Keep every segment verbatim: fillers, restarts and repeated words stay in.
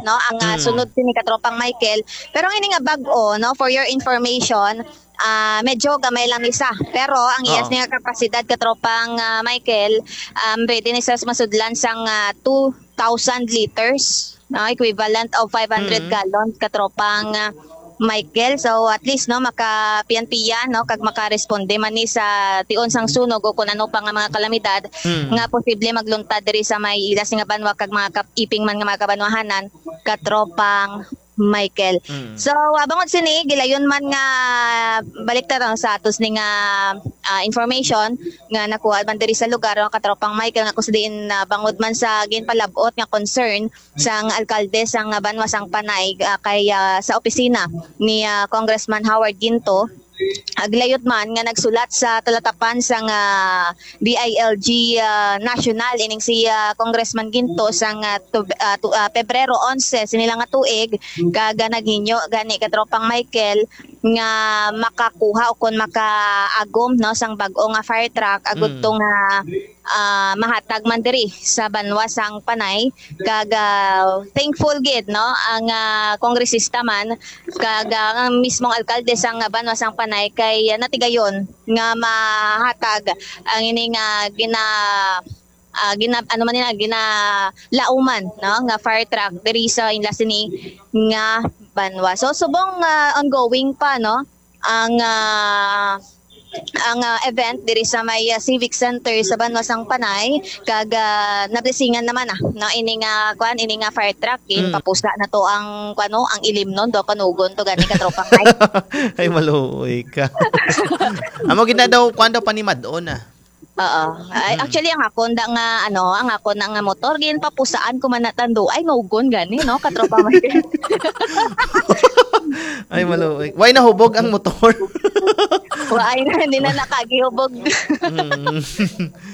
no, ang, ah, Mm. sunod sini, katropang Michael. Pero ang ini nga bag-o, no, for your information, ah, medyo gamay lang ni sa. Pero ang iyas Oo. ni nga kapasidad, katropang, ah, Michael, um, pwede ni sa masudlan sang, ah, two thousand liters, no, equivalent of five hundred Mm. gallons, katropang, ah, Michael. So, at least, no, makapiyan-piyan, no, kag makaresponde man ni sa tion sang sunog o kung ano pa nga mga kalamidad Mm. nga posible magluntad diri sa may ila sing banwa kag mga kap-, iping man nga mga kabanwahanan, katropang Michael. Mm. So, ah, bangod sini, gilayon man nga balik ta sa atos ni nga, ah, information nga nakuha man diri sa lugar, no, katropang Michael, nga kung sa diin, ah, bangod man sa ginpalabot nga concern sang alkalde sang banwa sang Panay, ah, kay, ah, sa opisina ni, ah, Congressman Howard Ginto, aglayot man nga nagsulat sa talatapan sang, ah, D I L G, ah, National, ining si, ah, Congressman Ginto sang, ah, Tub-, ah, tu-, ah, Pebrero onse sini lang nga tuig, kag, ah, naghinyo gani, katropang Michael, nga makakuha o kon makaagom, no, sang bag-o nga fire truck agud Mm. to nga, ah, mahatag man diri sa banwa sang Panay, kag, ah, thankful gid, no, ang, ah, kongresista man kag, ah, ang mismong alkalde sang banwa sang Panay kay, ah, natigayon nga mahatag ang ini nga gina-, ah, gina-, ano man nila, ginalauman, no, nga fire truck diri sa inla sini nga banwa. So, subong, ah, ongoing pa, no, ang, ah, ang, ah, event diri sa may, ah, Civic Center sa banwa sang Panay, kag, ah, nablisingan naman, ah, no, ini nga, kuan, ini nga fire truck, Mm. ginpapusa na to ang, kuan, no, ang ilimnon do, kanugon to gani, katropang Mike. Ay, maluoy ka. Amo gid na daw, kuan daw, panimad-on, ah. Oo. Ay, Mm. actually, ang akon da nga, ano, ang akon na nga motor, ginpapusaan ko man na tando. Ay, nugon gani, no? Katropa Mike. Ay, maluoy. Why nahubog ang motor? Why na, hindi na nakagihubog. Mm.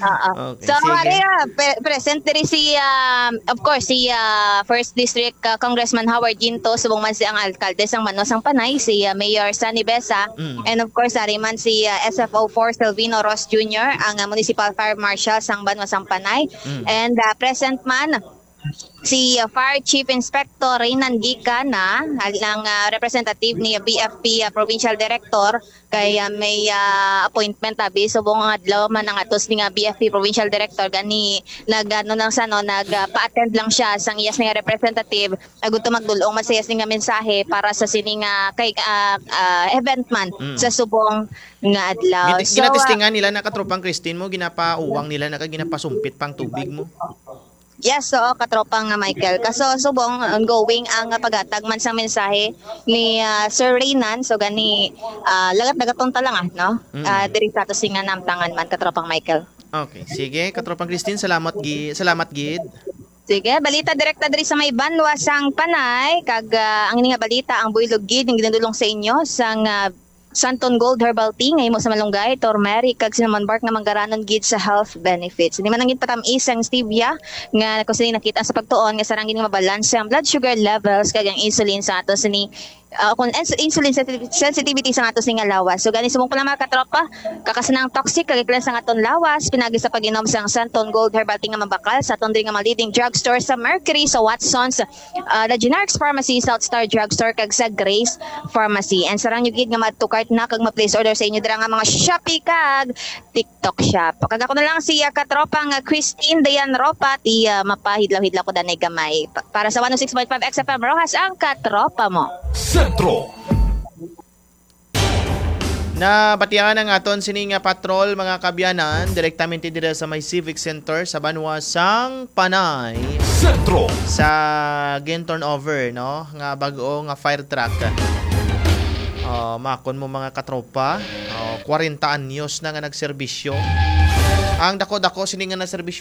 Oo. Okay, So, sige. Maria, pe-, present diri si, um, of course, si, uh, First District, uh, Congressman Howard Ginto, subong man si ang alkalde sang Manwa sang Panay, si, uh, Mayor Sunny Besa, Mm. and of course, ari man si, uh, S F O four Silvino Ross Junior, ang, uh, Municipal Fire Marshal sang Banwa sang Panay. Mm. And, uh, present man si, uh, Fire Chief Inspector Reynan Gicana, ang, uh, representative ni B F P, uh, Provincial Director, kay, uh, may, uh, appointment, abi, subong nga adlaw man ang atos ni nga B F P Provincial Director, gani nag, ano lang sa, no, nag, uh, pa-attend lang siya sang iyas nga representative, agud to magdul-ong man sa iyas nga mensahe para sa sini nga kay, uh, uh, event man Mm. sa subong nga adlaw. Gina-, So, uh, ginatistingan nila na, katropang Christine, mo, ginapauwang nila na kag ginapasumpit pang tubig mo. Yes, oo, katropang Michael. Kaso subong, ongoing ang paghatag man sang mensahe ni, ah, Sir Reynan. So gani, ah, lagat-lagaton ta lang, ah, no? Mm. Ah, diri sa ato sing nga namtangan man, katropang Michael. Okay, sige, katropang Christine, salamat gi-, salamat gid. Sige, balita direkta diri sa may Banwa sang Panay, kag, ah, ang ini nga balita ang buylog gid nga ginadul-ong sa inyo sang, ah, Santon Gold Herbal Tea nga himo sa malunggay, turmeric, kag cinnamon bark nga manggaranon gid sa health benefits. Hindi man ang ginpatamis ang stevia nga kung sini nakita sa pagtuon nga sarang gid nga mabalanse ang blood sugar levels kag ang insulin sa ato sini, ah, kung ins-, insulin sensitivity, sensitivity sa ato sini nga lawas. So gani subong pa lang, mga katropa, kakasanang toxic kag iklan sa aton lawas pinagi sa pag-inom sang Santon Gold Herbal Tea nga mabakal sa aton diri nga mga leading drugstore sa Mercury, sa Watsons, ah, The Generics Pharmacy, South Star Drugstore, kag sa Grace Pharmacy. And sarang nyo gid nga ma-cart na kag ma-place order sa inyo dira nga mga Shopee kag TikTok Shop. Kag ako na lang si, ah, katropang, ah, Christine Dayan Ropa, ti, ah, mapahidlaw-hidlaw ko danay gamay. Pa-, para sa one oh six point five X F M Roxas, ang katropa mo. Sentro. Nabatian ang aton sini nga patrol, mga kaabyanan, direktamente dira sa may Civic Center sa banwa sang Panay. Sentro. Sa gin-turnover, no, nga bag-o nga fire truck. Oh, makon mo, mga katropa. Oh, kwarenta anyos na nga nagserbisyo. Ang dako-dako sini nga nagserbisyo